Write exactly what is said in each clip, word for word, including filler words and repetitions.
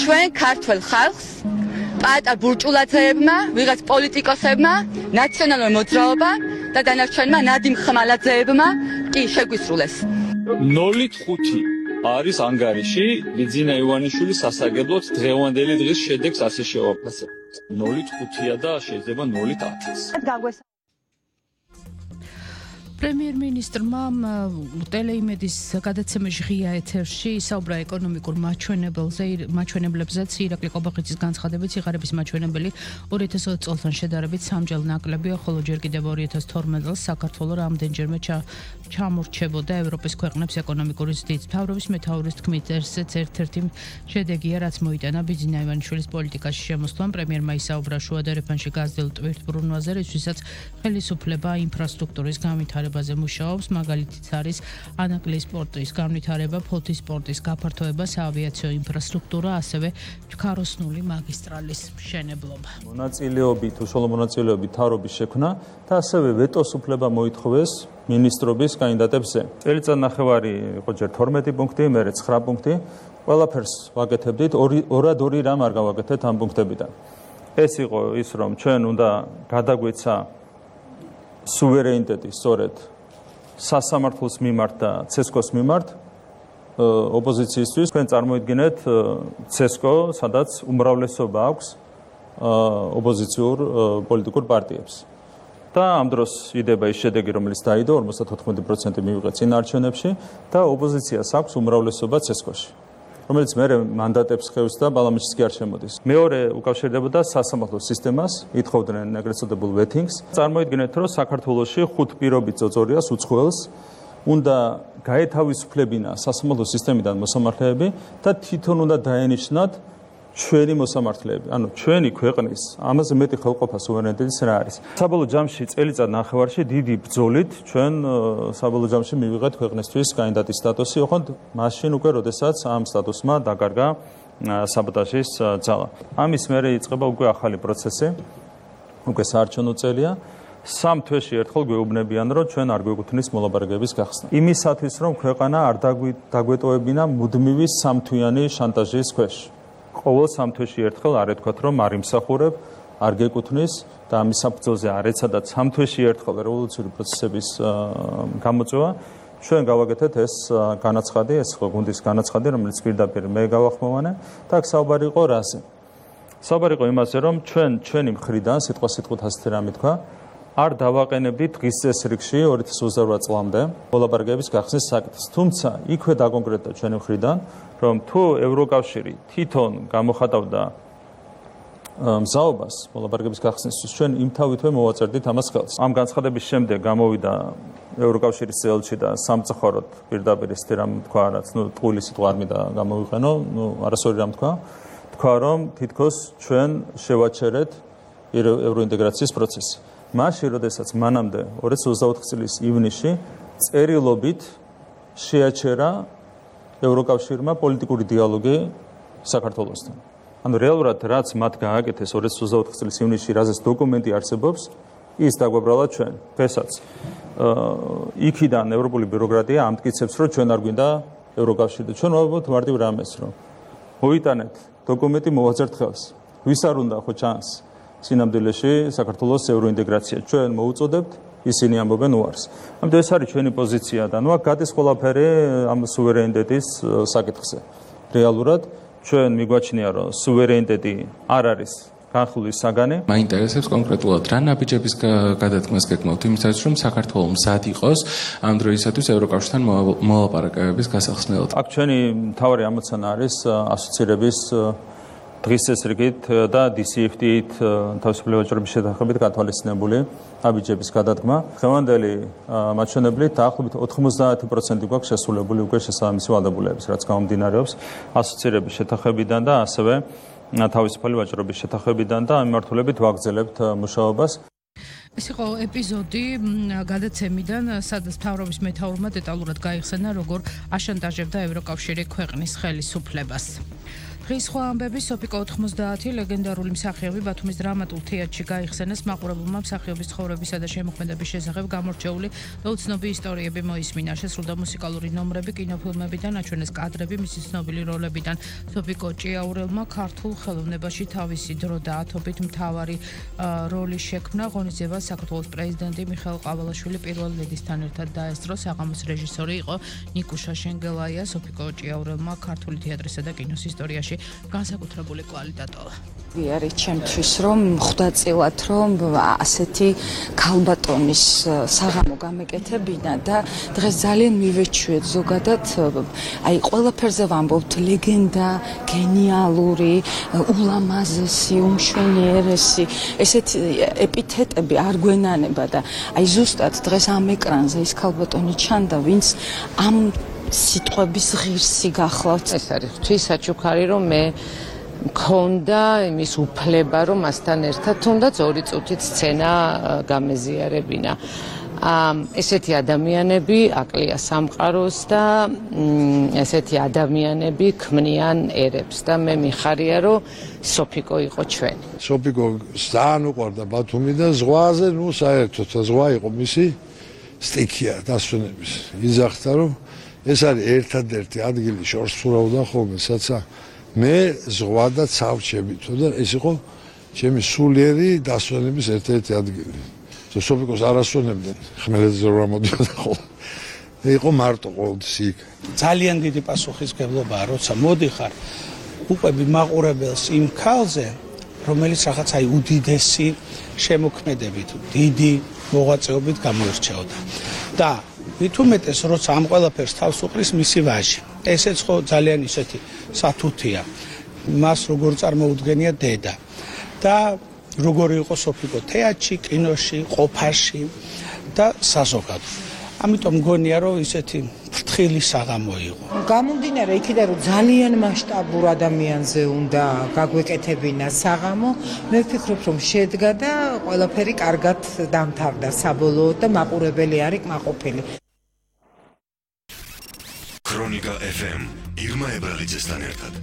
ჩვენ ქართულ ხალხს პატარ ბურჭულაძეებმა, ვიღაც პოლიტიკოსებმა, ნაციონალურ მოძრაობა და დანარჩენმა ნადიმ ხმალაძეებმა კი შეგვისრულეს. ნოლით ხუთი არის ანგარიში ბიძინა ივანიშვილის სასარგებლოდ დღევანდელი დღის შედეგს ასე შევაფასებ. ნოლით ხუთია და შეიძლება ნოლით ათიც. პრემიერ-მინისტრმა ტელეიმედის გადაცემაში ღია ეთერში ისაუბრა ეკონომიკურ მაჩვენებელზე, მაჩვენებლებზეც ირაკლი ყობახიძის განცხადებით სიღარიბის მაჩვენებელი ორი ათას ოცი წელთან შედარებით სამჯერ ნაკლებია, ხოლო ჯერ კიდევ ორი ათას თორმეტ წელს საქართველო რამდენჯერმე ჩამორჩებოდა ევროპის ქვეყნებს ეკონომიკური ზრდით. მთავრობის მეთაურის თქმით, ესეც ერთ-ერთი შედეგია, რაც მოიტანა ბიძინა ივანიშვილის პოლიტიკაში შემოსვლამ. პრემიერმა ისაუბრა შუადერეფანში გაზრდილ ტვირთბრუნვაზე, რისთვისაც ხელისუფლება ინფრასტრუქტურის განვითარებაზე მუშაობს, მაგალითიც არის ანაკლიის პორტის განვითარება, ფოთის პორტის გაფართოება, საავიაციო ინფრასტრუქტურა, ასევე ჩქაროსნული მაგისტრალის მშენებლობა. მონაწილეობით, უშუალო მონაწილეობით მთავრობის შექმნა და ასევე ვეტოს უფლება მოითხოვეს მინისტრობის კანდიდატებზე. წელიწად ნახევარი იყო ჯერ თორმეტი პუნქტი, მერე ცხრა პუნქტი. ყველაფერს ვაკეთებდით, ორად ორი რამ არ გავაკეთეთ ამ პუნქტებიდან. ეს იყო ის, რომ ჩვენ უნდა გადაგვეცა სუვერენიტეტი სწორედ სასამართლოს მიმართ და ცესკოს მიმართ ოპოზიციისთვის. თქვენ წარმოიდგინეთ ცესკო, სადაც უმრავლესობა აქვს ოპოზიციურ პოლიტიკურ პარტიებს. და ამ დროს იდება ის შედეგი, რომელიც დაიდო, ორმოცდაოთხმეტი პროცენტი მივიღე წინაარჩევნებში და ოპოზიციას აქვს უმრავლესობა ცესკოში, რომელიც მერე მანდატებს ხევს და ბალამიშიც კი არ შემოდის. მეორე უკავშირდებოდა სასამართლო სისტემას, ითხოვდნენ ეგრეთ წოდებულ ვეთინგს. წარმოიდგინეთ, რომ საქართველოში ხუთ პირობით ძოძორიას უცხოელს უნდა გაეთავისუფლებინა სასამართლო სისტემიდან მოსამართლეები და თვითონ უნდა დაენიშნათ ჩვენი მოსამართლეები. ანუ ჩვენი ქვეყნის ამაზე მეტი ხელყოფა სუვერენიტეტის რა არის? საბოლოო ჯამში წელიწად ნახევარში დიდი ბრძოლით ჩვენ საბოლოო ჯამში მივიღეთ ქვეყნისთვის კანდიდატის სტატუსი, ოღონდ მაშინ უკვე როდესაც ამ სტატუსმა დაკარგა საბოტაჟის ძალა. ამის მერე იწყება უკვე ახალი პროცესი, უკვე საარჩევნო წელია. სამ თვეში ერთხელ გვეუბნებიან, რომ ჩვენ არ გვეკუთვნის მოლაპარაკების გახსნა. იმისათვის, რომ ქვეყანა არ დაგვეტოვებინა მუდმივი სამთვიანი შანტაჟის ქვეშ. ყოველ სამ თვეში ერთხელ არ ეთქვათ, რომ არ იმსახურებ, არ გეკუთვნის და ამის საფუძველზე არ ეცადათ სამ თვეში ერთხელ რევოლუციური პროცესების გამოწვევა. ჩვენ გავაკეთეთ ეს განაცხადი, ეს გუნდის განაცხადი, რომელიც პირდაპირ მე გავახმოვანე და აქ საუბარი იყო რაზე? საუბარი იყო იმაზე, რომ ჩვენ ჩვენი მხრიდან სიტყვა სიტყვით ასეთი რამე თქვა, არ დავაყენებდით დღის წესრიგში ორი ათას ოცდაოთხ წლამდე მოლაპარაკების გახსნის საკითხს. თუმცა იქვე დაკონკრეტდა ჩვენი მხრიდან, რომ თუ ევროკავშირი თვითონ გამოხატავდა მზაობას მოლაპარაკების გახსნისთვის, ჩვენ იმთავითვე მოვაწერდით ამას ხელს. ამ განცხადების შემდეგ გამოვიდა ევროკავშირის წევრები და სამწუხაროდ პირდაპირ ისეთი რამ თქვა, რაც ნუ ტყუილი სიტყვა არ მინდა გამოვიყენო, ნუ არასორი რამ თქვა. თქვა, რომ თითქოს ჩვენ შევაჩერეთ ევროინტეგრაციის პროცესი. მაშინ, როდესაც მანამდე ორი ათას ოცდაოთხ წლის ივნისში წერილობით შეაჩერა ევროკავშირმა პოლიტიკური დიალოგი საქართველოსთან. ანუ რეალურად რაც მათ გააკეთეს ორი ათას ოცდაოთხ წლის ივნისში, რაზეც დოკუმენტი არსებობს, ის დაგვაბრალა ჩვენ. დღესაც იქიდან ევროპული ბიუროკრატია ამტკიცებს, რომ ჩვენ არ გვინდა ევროკავშირი და ჩვენ ვაბობთ მარტივ რამეს, რომ მოიტანეთ დოკუმენტი, მოვაწერთ ხელს. ვის არ უნდა ხო ჩანს სინამდვილეში საქართველოს ევროინტეგრაცია. ჩვენ მოუწოდებთ, ისინი ამბობენ უარს. ამიტომ ეს არის ჩვენი პოზიცია და ნუ აქ გადის ყველაფერი ამ სუვერენიტეტის საკითხზე. რეალურად ჩვენ მიგვაჩნია, რომ სუვერენიტეტი არ არის განხილვის საგანი. მაინტერესებს კონკრეტულად რა ნაბიჯების გადადგმას გეკმოთ იმისათვის, რომ საქართველოს მზად იყოს ამ დროისათვის ევროკავშირთან მოლაპარაკებების გასახსნელად. აქ ჩვენი მთავარი ამოცანა არის ასოცირების დღის წესრიგით და დი სი ეფ ტი-ით თავისუფლება ვაჭრობის შეთანხმებით გათვალისწინებული ნაბიჯების გადადგმა. დღევანდელი მაჩვენებლით დაახლოებით ოთხმოცდაათი პროცენტი გვაქვს შესრულებული უკვე შესაბამისი ვალდებულების, რაც გამომდინარეობს ასოცირების შეთანხმებიდან და ასევე თავისუფალი ვაჭრობის შეთანხმებიდან და ამ მიმართულებით ვაგრძელებთ მუშაობას. ეს იყო ეპიზოდი გადაცემიდან, სადაც მთავრობის მეთაურმა დეტალურად გაიხსენა, როგორ აშანტაჟებდა ევროკავშირი ქვეყნის ხელისუფლებას. დღის სხვა ამბები სოფიკო ოთხმოცდაათი ლეგენდარული მსახიობი ბათუმის დრამატულ თეატრში გაიხსენეს მაყურებელმა მსახიობის ცხოვრებისა და შემოქმედების შესახებ გამორჩეული და უცნობი ისტორიები მოისმინა. შესრულდა მუსიკალური ნომრები, კინოფილმებიდან, აჩვენეს კადრები მისი ცნობილი როლებიდან. სოფიკო ჭიაურელმა ქართულ ხელოვნებაში თავისი დრო და ათობით მთავარი როლი შექმნა. ღონისძიებას საქართველოს პრეზიდენტი მიხეილ ყავალაშვილი პირველ ლედისთან ერთად დაესწრო. საღამოს რეჟისორი იყო ნიკუშა შენგელაია. სოფიკო ჭიაურელმა ქართული თეატრისა და კინოს ისტორიაში განსაკუთრებული კვალი დატოვა. არის ჩემთვის რომ ხვდაწილად რომ ასეთი ქალბატონის საღამო გამეკეთებინა და დღეს ძალიან მივეჩვიეთ ზოგადად აი ყველაფერზე ვამბობთ ლეგენდა, გენიალური, ულამაზესი, უმშვენიერესი ესეთი ეპითეტები არ გვენანება და აი ზუსტად დღეს ამ ეკრანზე ის ქალბატონი ჩანდა ვინც ამ სიტყვების ღირსი გახლავთ. ეს არის ღვთის საჩუქარი რომ მე მქონდა იმის უფლება რომ მასთან ერთად თუნდაც ორი წუთით სცენა გამეზიარებინა. ესეთი ადამიანები აკლია სამყაროს და ესეთი ადამიანები ქმნიან ერებს და მე მიხარია რომ სოფიკო იყო ჩვენი. სოფიკო ძალიან უყვარდა ბათუმი და ზღვაზე ნუ საერთოდ ზღვა იყო მისი სტიქია დასვენების. იძახდა რომ ეს არის ერთადერთი ადგილი შორს ფურავდა ხოლმე საცა მე ზღვა და ცავჩებითო და ეს იყო ჩემი სულიერი დასვენების ერთ-ერთი ადგილი. სოფიკოს არ ასვენებდნენ ხმელეთზე რა მოდიოდა ხოლმე. იყო მარტო ყოველთვის იქ. ძალიან დიდი პასუხისმგებლობაა, როცა მოდიხარ უყვები მაყურებელს იმ ქალზე, რომელიც რაღაც აი უდიდესი შემოქმედებით, დიდი მოღვაწეობით გამოირჩეოდა. და მით უმეტეს როცა ამ ყველაფერს თავს უყრის მისი ვაჟი. ესეც ხო ძალიან ისეთი სათუთია. მას როგორ წარმოუდგენია დედა. და როგორი იყო სოფიკო თეატრში, კინოში, ყოფაში და საზოგადო. ამიტომ მგონია რომ ისეთი ფრთხილი საღამო იყო. გამომდინარე იქიდან რომ ძალიან მასშტაბურ ადამიანზე უნდა გაგვეკეთებინა საღამო, მე ვფიქრობ რომ შედგა და ყველაფერი კარგად დამთავრდა საბოლოოდ და მაყურებელი არის კმაყოფილი. ქრონიკა ეფ ემ ირმა ებრალიძესთან ერთად.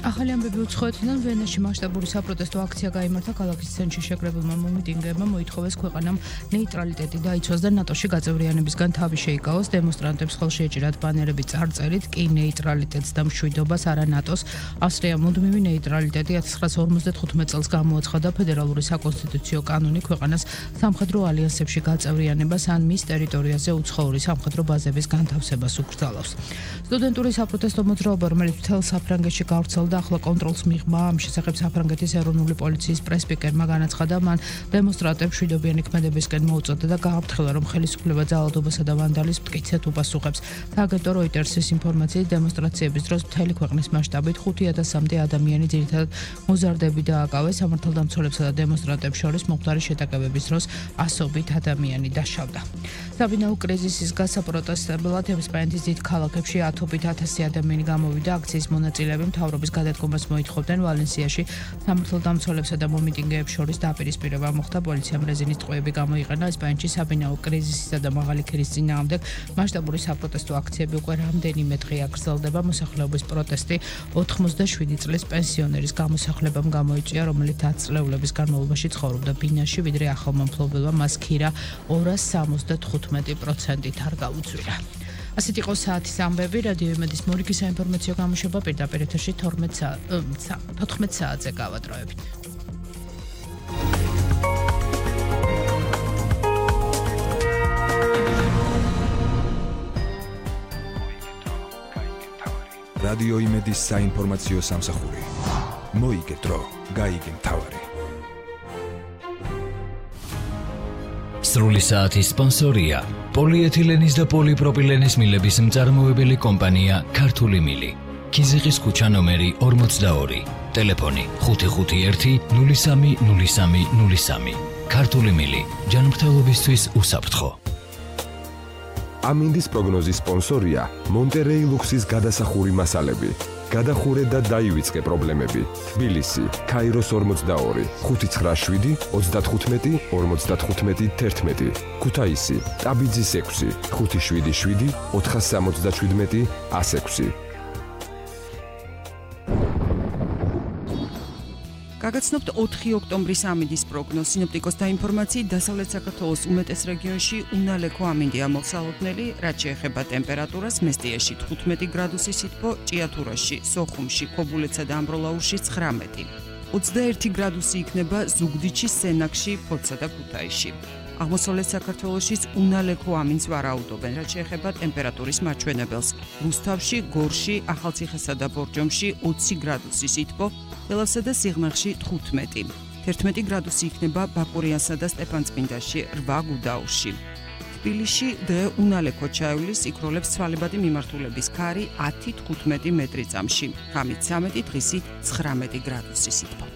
ახალი ამბები უცხოეთიდან ვენაში მასშტაბური საპროტესტო აქცია გაიმართა ქალაქის ცენტრში შეკრებილმა მომიტინგეებმა მოითხოვეს ქვეყანამ ნეიტრალიტეტი დაიცვას და ნატოში გაწევრიანებისგან თავი შეიკავოს. დემონსტრანტებს ხელში ეჭირათ ბანერები წარწერით კი ნეიტრალიტეტს და მშვიდობას არა ნატოს. ავსტრია მუდმივი ნეიტრალიტეტი ათას ცხრაასი ორმოცდათხუთმეტ წელს გამოაცხადა ფედერალური საკონსტიტუციო კანონი ქვეყანას სამხედრო ალიანსებში გაწევრიანებას ან მის ტერიტორიაზე უცხოური სამხედრო ბაზების განთავსებას უკრძალავს. სტუდენტური საპროტესტო მოძრაობა, რომელიც მთელ საფრანგეთში გავრცელდა, ახლა კონტროლს მიღმა. ამ შესახებ საფრანგეთის ეროვნული პოლიციის პრესპიკერმა განაცხადა, მან დემონსტრანტებს მშვიდობიანი ქმედებისკენ მოუწოდა და გააფრთხილა, რომ ხელისუფლება ძალადობასა და ვანდალიზმს მტკიცედ უპასუხებს. სააგენტო როიტერსის ინფორმაციით, დემონსტრაციების დროს მთელი ქვეყნის მასშტაბით ხუთი ათასამდე ადამიანი ძირითადად მოზარდები დააკავეს. სამართალდამცველებსა და დემონსტრანტებს შორის მომხდარი შეტაკებების დროს ასობით ადამიანი დაშავდა. საბინაო კრიზისის გასაპროტესტებლად ესპანეთის დიდ ქალაქებში ათობით ათასი ადამიანი გამოვიდა. აქციის მონაწილეები მთავრობის გადადგომას მოითხოვდნენ. ვალენსიაში სამართალდამცველებსა და მომიტინგეებს შორის დაპირისპირება მოხდა. პოლიციამ რეზინის ტყვეები გამოიყენა. ესპანეთში საბინაო კრიზისისა და მაღალი ქირის წინააღმდეგ მასშტაბური საპროტესტო აქციები უკვე რამდენიმე დღეა გრძელდება. მოსახლეობის პროტესტი ოთხმოცდაშვიდი წლის პენსიონერის გამოსახლებამ გამოიწვია, რომელიც ათ წლეულების განმავლობაში ცხოვრობდა ბინაში, ვიდრე ახალმა მფლობელმა მას ქირა ორას სამოცდათხუთმეტი პროცენტით არ გაუწვირა. ასეთ იყო საათის ამბები. რადიო იმედის მორიგი საინფორმაციო გამოშვება პირდაპირ ეთერში თოთხმეტ საათზე გავადროებით. რადიო იმედის საინფორმაციო სამსახური. მოიგე დრო, გაიგე მთავარი. სრული საათის სპონსორია პოლიეთილენის და პოლიპროპილენის მილების მწარმოებელი კომპანია ქართული მილი. ქიზიყის ქუჩა ნომერი ორმოცდაორი. ტელეფონი ხუთი ხუთი ერთი ნული სამი ნული სამი ნული სამი. ქართული მილი. ჯანმრთელობისთვის უსაფრთხო. ამინდის პროგნოზის სპონსორია მონტერეი ლუქსის გადასახური მასალები. გადახურე და დაივიწყე პრობლემები. თბილისი, ქაიროს ორმოცდაორი, ხუთი ცხრა შვიდი ოცდათხუთმეტი ორმოცდათხუთმეტი თერთმეტი. ქუთაისი, ტაბიძის ექვსი, ხუთი შვიდი შვიდი ოთხასამოცდაშვიდმეტი ასექვსი. გაგაცნობთ ოთხი ოქტომბრის ამინდის პროგნოზ. სინოპტიკოსთა ინფორმაციით, დასავლეთ საქართველოს უმეტეს რეგიონში უნალექო ამინდია მოსალოდნელი, რაც შეეხება ტემპერატურას, მესტიაში თხუთმეტი გრადუსი სითბო, ჭიათურაში, სოხუმში, ქობულეთსა და ამბროლაურში ცხრამეტი. ოცდაერთი გრადუსი იქნება ზუგდიდში, სენაკში, ფოთსა და ქუთაისში. აღმოსავლეთ საქართველოშიც უნალექო ამინდს ვარაუდობენ, რაც შეეხება ტემპერატურის მაჩვენებელს. რუსთავში, გორში, ახალციხესა და ბორჯომში ოცი გრადუსი სითბო, ველავსა და სიღნაღში თხუთმეტი. თერთმეტი გრადუსი იქნება ბაკურიანსა და სტეფანწმინდაში, რვა გუდაურში. თბილისში დღე უნალექო ჩაივლის, იქროლებს ცვალებადი მიმართულების ქარი ათი თხუთმეტი მეტრი წამში. ღამით სამეტი, დღისით ცხრამეტი გრადუსი სითბო.